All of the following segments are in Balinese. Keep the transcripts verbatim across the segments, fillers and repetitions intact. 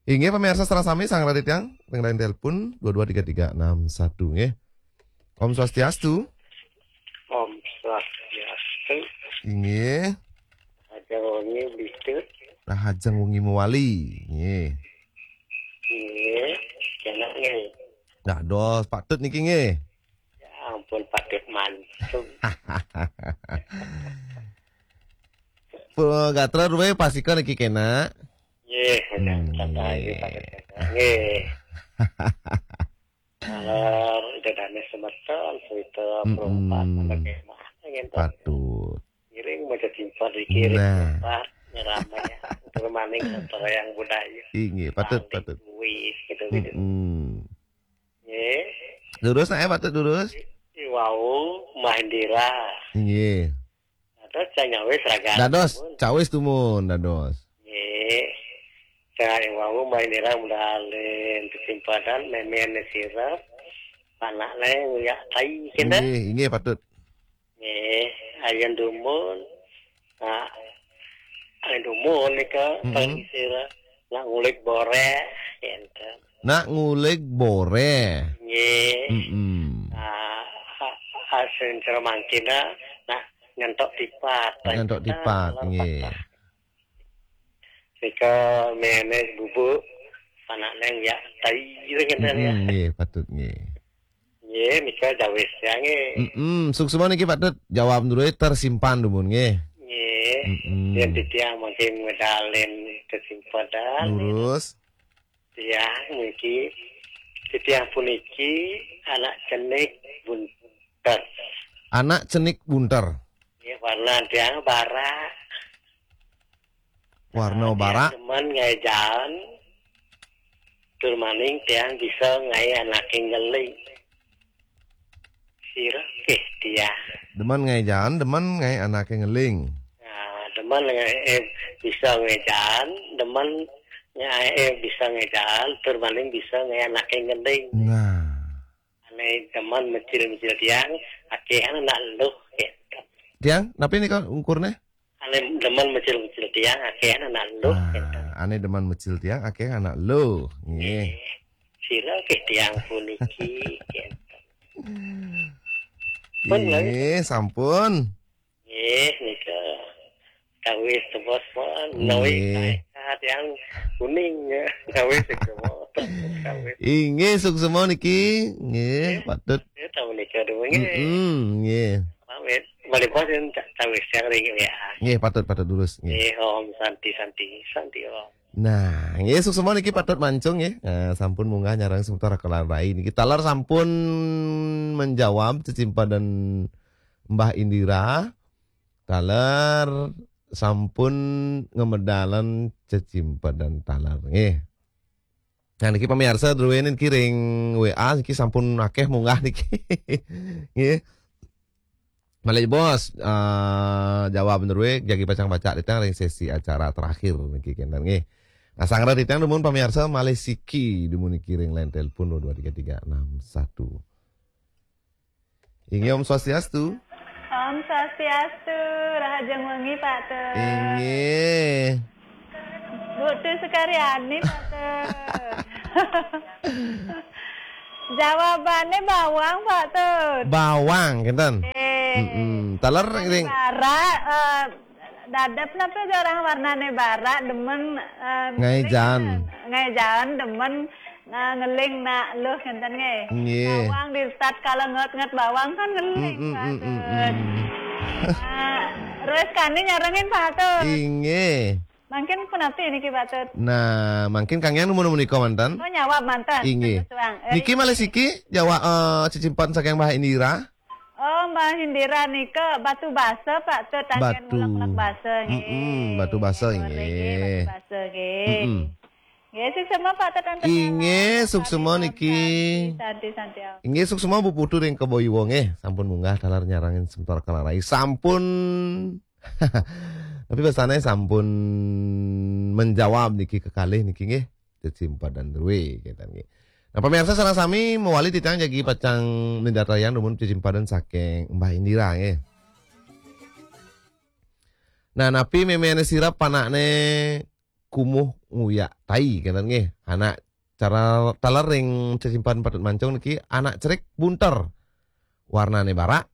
Inggih, pemirsa sareng sami, sareng titiang ring line telepon dua dua tiga tiga enam satu, nggih. Om Swastiastu. Om Swastiastu. Inggih. Ada wengi bidut. Rahajeng wengi mewali. Nggih. Nggih. Kena nggih. Dados Pak Tut niki nggih. Ya ampun, Pak Tut mantu. Pun gatra ruwe pasika niki kena. Nggih, Hmm, kata nggih. Ayu Pak Tut. Nggih. Kalau ida dane semeton, cerita Mm-mm. perempat, mana kemah, gitu. Patut. Ngiring maca timpal dikiring Nah. Timpal, nyeramai. Terus maning antara yang budaya. Inggih, patut, Paling patut. Kuis, gitu, gitu. Mm-mm. Nggih. Lurus nae, patut lurus. Iwau Mahendira. Inggih. Dados cang nyawis raga. Dados, cawis tumun, dados. Nggih. Cang iwau Mahendira mudalen kesimpadan memen sirap. Anak lain ya tai kena. Inggih, inggih, patut. Nggih, ayen dumun. Nah, ayen dumun nika Mm-mm. teng sira nak ngulik boreh enten. Nak ngulik boreh. Nggih. Mm-mm. Nah, a- asin cara mangkina nak nyentok tipat. Nak nyentok tipat, Nah, nggih. Nika menes bubuk anak neng ya tai ngenten ya. Mm-mm, nggih, patut nggih. Nggih, nika jawis ya nggih. Mm-mm, suksma niki patut jawab dulu tersimpan dumun nggih. Nggih. Mm-mm. Yen titiang mungkin medalen kesimpulan. Lurus. Tiang mungkin titiang puniki anak cenik bunter. Anak cenik bunter. Nggih, warna tiang barak. Warna Tiang barak. Demen ngae jalan. Tur maning tiang bisa ngae anake ngeling. Sira nggih tiang. Demen ngae jalan, demen ngae anake ngeling. Nah, demen ngae bisa ngae jalan, demen ngae bisa ngae jalan, tur maning bisa ngae anake ngeling. Nah. Ane demen mecil-mecil tiang, akeh anak luh gitu. Tiang, napi nika ukurne? Ane demen mecil-mecil tiang, akeh anak luh gitu. Ah, ane demen mecil tiang, akeh anak luh. Nggih. Sira nggih tiang puniki gitu. Pun, Nggih, sampun. Nggih, nika. Kawis tebos pun, Nggih. nawi kae tiang kuning ya. Kawis tebos. Kawis. Inggih, suksma niki. Nggih, patut. Ya tahu nika dulu nggih. Mm-mm, nggih. Pamit. Balik pun kawis yang ring ya. Nggih, patut, patut lurus. Nggih. Nggih, om santi santi santi om. Nah, nggih, suksma niki patut mancung nggih. Eh, sampun munggah nyarang sementara kelar rai niki. Taler sampun menjawab cecimpadan Mbah Indira. Taler sampun ngemedalan cecimpadan taler nggih. Nah, niki pamirsa druene niki ring W A niki sampun akeh munggah niki. Nggih. Malih bos, eh, jawab druwe jagi pacang baca titiang ring sesi acara terakhir niki kenten nggih. Nah, sangra titiang dumun pamirsa malih siki dumun niki ring line telepon dua dua tiga tiga enam satu. Inggih, Om Swastiastu. Om Swastiastu, rahajeng wengi Pak Tut. Inggih. Bu Tut Sukaryani Pak Tut. Jawabane bawang Pak Tut. Bawang kenten. Eh. Mm-mm. Taler ring Barak, eh, dadep napa orang warnane barak demen eh, Ngae jan. Ngae jan demen nah, ngeling nak luh ngenten nggih. Nggih. Bawang di saat kala nget-nget bawang kan ngeling Mm-mm, Pak mm-mm, Tut. mm. Nah, terus kani nyarengin Pak Tut. Inggih. Mangkin punapi niki Pak Tut. Nah, mangkin Kang Yang nemu-nemu nika manten. Oh nyawab manten. Inggih. Terus, Bang. Eh, Niki malih siki jawab eh, cecimpan saking Mbah Indira. Oh, Mbah Indira nika batu basa Pak Tut tanggen Batu. ngulek-ngulek basa nggih. Mm-mm, batu basa Nggih, nggih. batu basa nggih. Mm-mm. Nggih, suksma Pak Tut enten Inggih, dalam. suksma Santi, niki. Santi, santi. Inggih, suksma Bu Putu ring Kebo Iwa nggih, sampun munggah taler nyarengin sementara kelar rai. Sampun. Tapi basane sampun menjawab niki kekalih niki nggih. Cecimpadan druwe kenten nggih. Nah, pemirsa sareng sami mewali titiang jagi pacang mindartayang dumun cecimpadan saking Mbah Indira nggih. Nah, napi memene sirep panakne kumuh nguyak tai, kenten nggih. Anak cara taler ring Sesimpan Patut Mancung niki, anak cerik bunter. Warnane barak,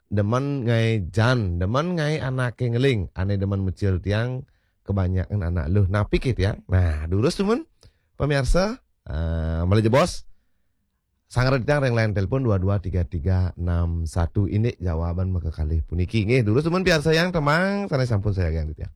demen ngae jan, demen ngae anake ngeling, ane demen mecil tiang, kebanyakan anak luh. Napi ke tiang? Nah, durus dumun, pemirsa, eh, malih jebos, sangret tiang ring line telepon dua dua tiga tiga enam satu. Indik jawaban makakalih puniki. Nggih, durus dumun piarsayang tembang sane sampun sayagiang tiang.